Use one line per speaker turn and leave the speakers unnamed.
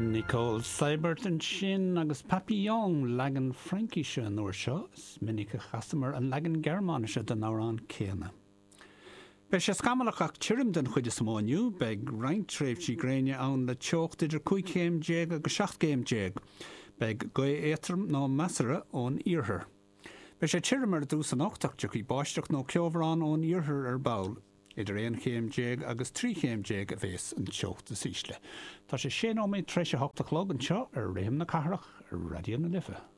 Nicole Seibert ansin agus Papillon, leagan Fraincise an uair seo, is minic a chasamar an leagan Gearmáinise den amhrán céanna. Beidh sé scamallach ach tirim den chuid is mó inniu. Beidh roinnt tréimhsí gréine ann le teocht idir 15 chéim agus 17 chéim. Beidh gaoth éadrom nó measartha ón iarthar. Beidh sé tirim ar dtús anocht ach tiocfaidh báisteach nó ceobhrán ón iarthar ar ball. Idir 11 chéim agus 13 chéim a bhéas an teocht is ísle. Tá sé sé nóiméad tar éis a hocht a chlog anseo ar Rithim na Cathrach ar Raidió na Life.